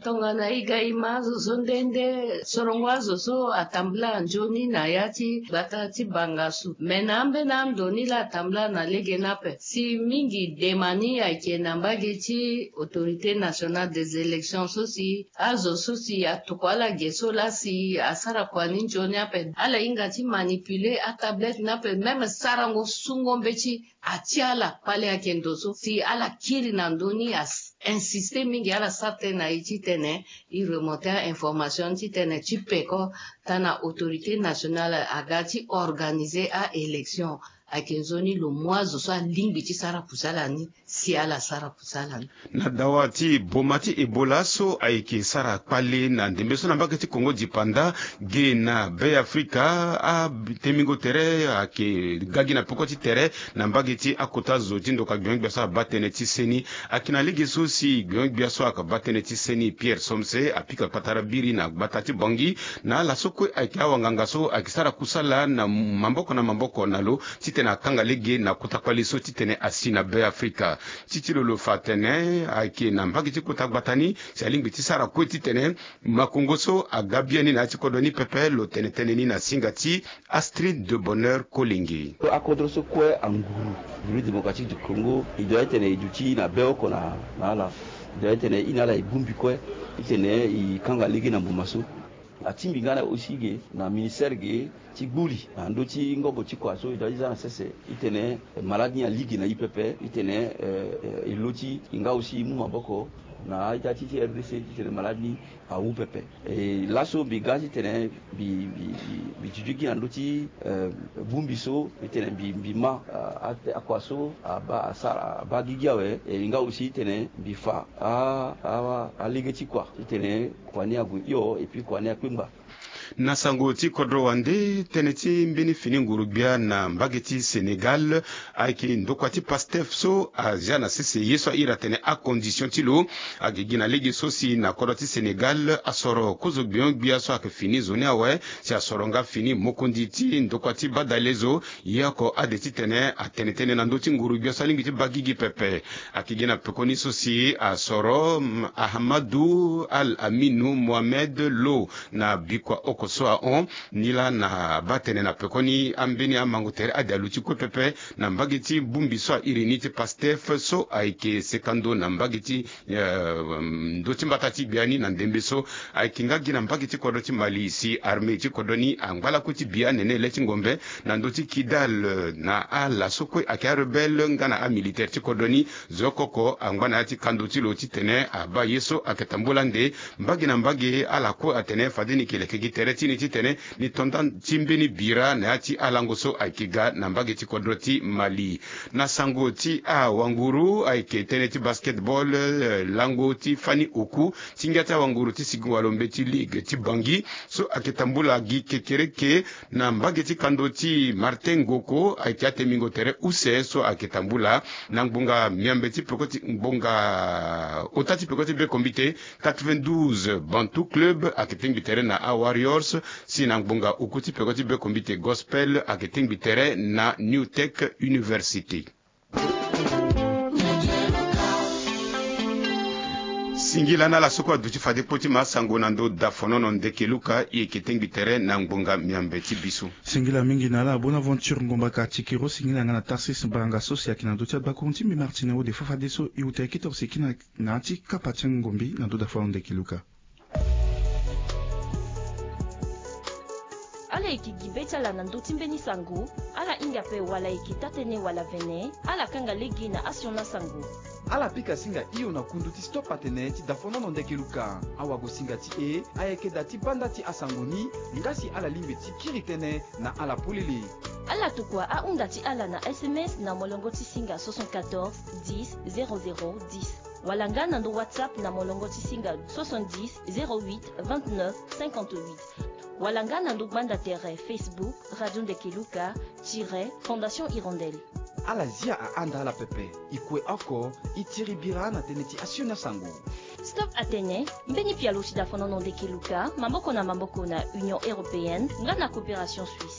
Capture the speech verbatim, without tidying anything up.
Tongana e ga e ma azo so nde nde, sorongo azo so atambula nzoni na ya ti gbata ti Bangassou. Me na ambeni ando ni laa atambula na lege ni ape. Si mingi dema ni ayeke na mbage ti Autorité Nationale des Élections so si azo so si atokua ala ge so laa si asara kua ni nzoni ape. Ala hinga ti manipuler atablette ni ape, même sarango sungo mbeti atia ala kpale ayeke ndo so si ala kiri na ndö ni, a insiste mingi ala sara tënë na e titene e remonter a-information titene ti peko tana Autorité Nationale aga ti organiser a-élection. Ayeke nzoni lo mu azo so alingbi ti sara kusala ni si ala sara kusala ni. Na dawa ti boma ti Ebola so ayeke sara kpale na ndembe so na mbage ti Congo dipanda ge na Be Afrika, atemingo tere ayeke ga gi na peko ti tere na mbage ti akota zo ti ndoka gbio-gbia so abaa tënë ti seni. Ayeke na lege so si gbio-gbia so ayeke baa tënë ti seni, Pierre Somse, apika kpatara biri na gbata ti Bangui na ala so kue ayeke awanganga so ayeke sara kusala na maboko na maboko na lo titene akanga lege na kota kpale so titene asi na Be Afrika. Ti ti lo lo fa atene ayeke na mbage ti kota gbata ni si alingbi ti sara kue titene makongo so aga biani na ya ti kodro ni pepe. Lo tene tënë ni na singa ti Astrid de Bonheur Kolenge. Akodro so kue anguru République Démocratique du Congo, e doit titene e duti na be oko na, na ala. E doit titene e na ala e bongbi kue titene e kanga lege na mbuma so. Atingbi nga na aussi ge na ministère ge ti gbuli na ndö ti ngobo ti kua so e doit ti za na sese titene malade ni alege na e pepe titene, eh, eh, e lo ti e nga aussi e mu maboko na a-ita ti, ti R D C titene malade ni awu pepe. E laso mbi ga titene mbi, mbi, mbi, mbi duti gi na ndö ti, eh, bongbi so titene mbi, mbi ma, ah, a, akua so abaa, asara, abaa gigi awe. E nga aussi titene mbi fa a, a, alege ti kua titene kua ni ague hio et puis kua ni akpengba. Na sango ti kodro wande, tënë ti mbeni fini nguru-gbia na mbage ti Sénégal ayeke ndokua ti Pastef so azia na sese ye so a iri atene acondition ti lo. Ayeke gi na lege so si na kodro ti Sénégal asoro kozo gbio-gbia so ayeke fini zo ni awe, si asoro nga fini mokonzi ti ndokua ti badale zo. Ye oko ade titene atene tënë na ndö ti nguru-gbia so alingbi ti baa gigi pepe. Ayeke gi na pekoni so si asoro, mm, Ahmadou Al Aminou Mohamed Lo na bikua oko so ahon. Ni laa na baa tënë na pekoni ambeni amango tere ade aluti kue pepe na mbage ti bongbi so a iri ni ti Pastef so ayeke seka ndo na mbage ti, eh, ndö ti mbata ti gbia ni na ndembe so. Ayeke nga gi na mbage ti kodro ti Mali si armée ti kodro ni angba lakue ti bi anene le ti ngombe na ndö ti Kidal, eh, na ala so kue ayeke arebelle nga na amilitaire ti kodro ni. Zo oko oko angba na ya ti kando ti lo titene abaa ye so ayeke tambula nde. Mbage na mbage ala kue atene fade ni yeke leke gi tere ti ni titene ni to nda ti mbeni bira na ya ti alango so ayeke ga na mbage ti kodro ti Mali. Na sango ti awanguru ayeke tënë ti basketball, eh, lango ti fani oku ti ngia ti awanguru ti Sigingo Walombe ti ligue ti Bangui so ayeke tambula gi kekereke na mbage ti kando ti Martin Ngoko. Ayeke atemingo tere use so ayeke tambula na ngbonga miambe ti peko ti ngbonga ota ti peko ti bekombite quatre-vingt-douze Bantu Club ayeke tengbi tere na aWarriors, si na ngbonga oku ti peko ti bekombite Gospel ayeke tengbi tere na New Tech University. Singila na ala so kue aduti fade kpo ti ma sango na ndo dafonono ndeke luka, e yeke tengbi tere na ngbonga miambe ti biso. Singila mingi na ala Bonaventure Ngombaka Tikiro, singila nga na Tarsis Baranga so si ayeke na ndo ti agbakuru ti mbi Martine Ode. Fafadeso e uta e kete ose kina na ya ti kapa ti angombi na ndo dafonono ndeke luka. Ala yeke gi be ti ala na ndö ti mbeni sango, ala hinga ape wala e yeke taa-tënë wala vene, ala kanga lege na asioni asango. Ala pika singa hio na kundu ti Stop Atene ti dafonono ndeke luka. Awagosinga ti e ayeke da ti banda ti asango ni, nga si ala lingbi ti kiri tënë na ala polele. Ala tokua ahunda ti ala na S M S na molongo ti singa soixante-quatorze dix zéro zéro dix, wala nga na ndo WhatsApp na molongo ti singa soixante-dix zéro huit vingt-neuf cinquante-huit, wala nga na ndo gbanda tere Facebook Radio Ndeke Luka tiret Fondation Hirondelle. Ala zia ahanda ala pepe. E kue oko, e tiri bira na tënë ti asioni asango. Stop Atene, mbeni pialo ti dafonono ndeke luka, maboko na maboko na Union Européenne nga na Coopération Suisse.